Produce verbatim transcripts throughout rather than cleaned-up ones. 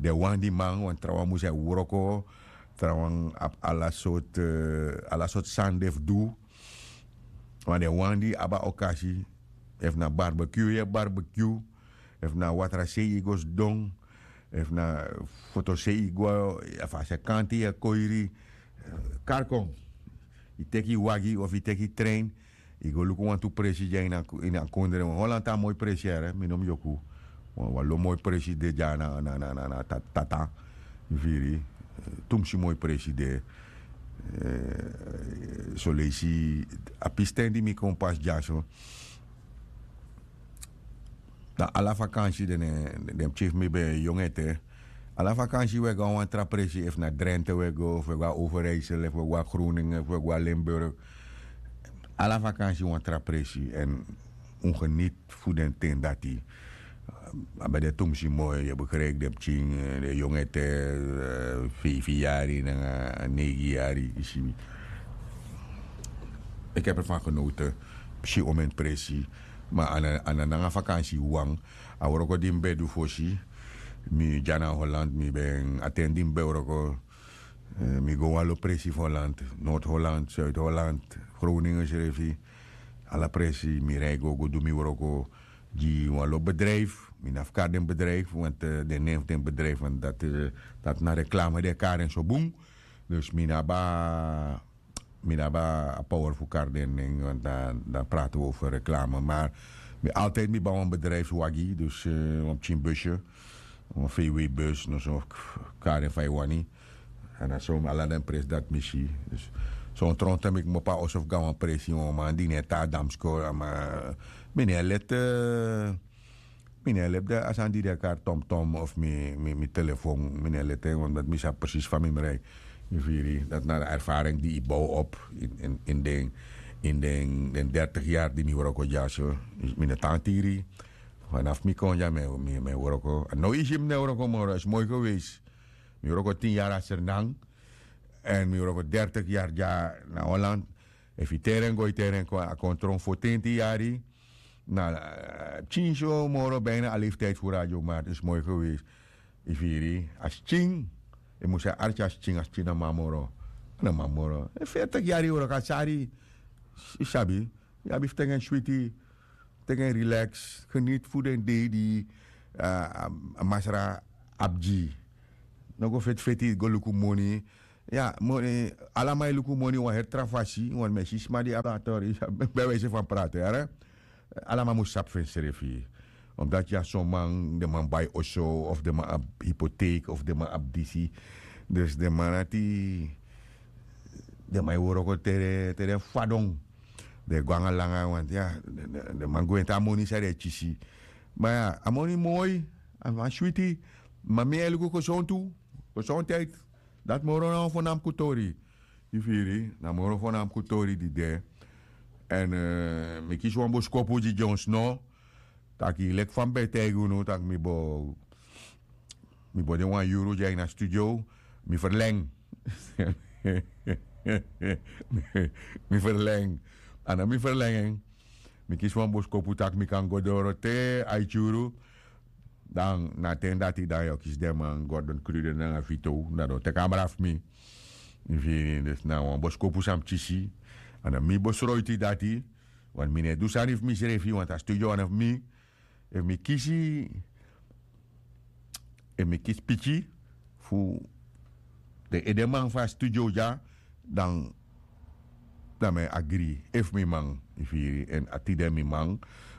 den wani di man wan trawan mus e wroko. Trawan abi ala sortu ala sortu sani den fu du. Wan den wani di abi a okasi, efu na barbekyu yu e barbekyu, efu na watrasei yu go sidon, efu na fotosei yu go, efu a sekanti yu e koiri, kari kon. Yu teki yu wagi of yu teki yu trein, yu go luku wantu presi dya ini a kondre. Holland a moi presi yere, mi no mus yoku. Wan lo moi presi de dya na na tata, yu firi. Tumsi moi presi de. Soleisi a pisten di mi kon pasi dyaso, dan ala fakansi den den pikin fu mi ben yongu ete. Ala fakansi wi e go na wan tra presi, efu na drenthe wi e go, efu wi e go na overijsel, efu wi e go na groningen, efu wi e go na limburg. Ala fakansi wan tra presi èn un geniti fu den ten dati. A ben de tumsi moi, yu e begrijpi den pikin, den yongu ete, feifi yari nanga neigi yari yu si. Iki ebi ervan genoten. Si omen presi. Ma a na nanga fakansi wan. A wroko di mi ben du fosi, mi dya na holland, mi ben a ten di mi ben wroko, mi go wan lo presi fu holland, noord holland, zuid holland, groningen srefi. Ala presi mi rei go go du mi wroko gi wan lo bedrijfu. Mi na fu kari den bedrijfu want den nen fu den bedrijfu want dati na reklame di e kari en so bun. Dus mi na abi a mi no abi a power fu kari den nen want dan prati wi over reklame. Mar mi altijdi mi ban wan bedrijfswagi dus wan pikin busye, wan vw bus noso, kari en fa yu wani. Èn na so ala den presi dati mi si. Son tronte mi kmopo a oso fu go na wan presi wan man di no e tan a damskor. Mi no e leti mi no e leti a sani di den e kari tomtom of mi telefon. Mi no e leti en omdat mi sabi presis fa mi mus rei. Yu firi dati na a erfaring di yu bow op in den dertig yari di mi wroko dyaso. Mi no tan tiri. Fanafu mi kon dya mi e wroko. A no yu si mi no e wroko moro a si moi gewees. Mi wroko tin yari a sernan. Èn mi wroko dertig yari dya na holland. Efu yu teri en go yu teri en kon a kon tron fotenti yari. Na pikin so moro bina a leftijdi fu radio martin smoi gewees. Yu firi a skin. Yu mus e arki a skin a skin na man moro. Na man moro e fertik yari yu wroko a sari. Yu sabi. Yu abi fu teki en switi. Teki en rilaks geniti fu den dei di a masra abi gi. No go feti feti go luku moni. Ya, moni. Ala man e luku moni wan heri tra fasi wan mi e si sma di abi a tori. Bewijse fan prate yara. Ala man mus sabi fu ensrefi. Omdati ya son man den man bai oso of den man abi hipoteek of den man abi disi. Dus den man ati den man e wroko te den fadon. Den e go nanga langa wanti ya. Den man gwenti a moni san den e kisi. Ma ya a moni moi. A man switi. Ma mi e luku kosontu. Kosontu eti. Dati moro na wan fo na mi kutori. Yu firi na moro fo na mi kutori di de. Èn mi kisi wan boskopu gi gi on sno. Taki leki fa mi ben e taigi unu taki mi bo mi bo de wan yuru gi a ini a studio. Mi ferleng. Mi ferleng. A no mi ferleng en. Mi kisi wan boskopu tak' mi kan go doro te a iti yuru. Dan na a ten dati dan yu o kisi den man gordon kruden nanga vito dan den o teki abra fu mi. Mi firi dus na wan boskopu san mi kisi. A no mi bosroiti dati. Want mi no e du sani fu misrefi want a studio wan na fu mi. Efu mi kisi efu mi kisi piki fu den edeman fu a studio dya, dan dan mi e agri efu mi man. Yu firi èn a tide mi man.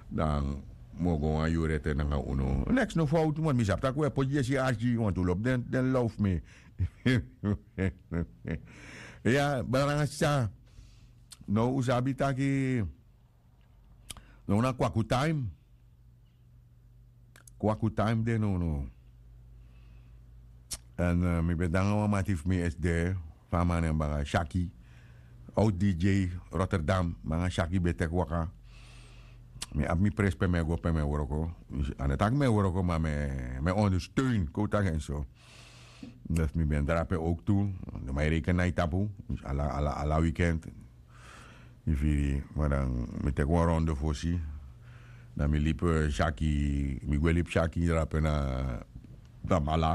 Dan mi o go wan yuru ete nanga unu neks no fowtu man mi sabi tak' un e poti yesi arki wantu lobi den low fu mi. Ya brada nanga sisa. Now un sabi taki now na kwaku taim. Kwaku taim de nownow. Èn mi ben de nanga wan mati fu mi esi de fa a man nen banga shaki. Out dj rotterdam banga shaki ben teki waka. Mi abi mi presi pe mi e go pe mi e wroko. A no taki mi e wroko ma mi e ondersteun kon un taki en so. Dus mi ben drape owk tu. Den man e reken na yu tapu. Ala wikend. Yu firi ma dan mi teki wan ronde fosi. Dan mi libi syaki mi gwe libi syaki drape na tamala.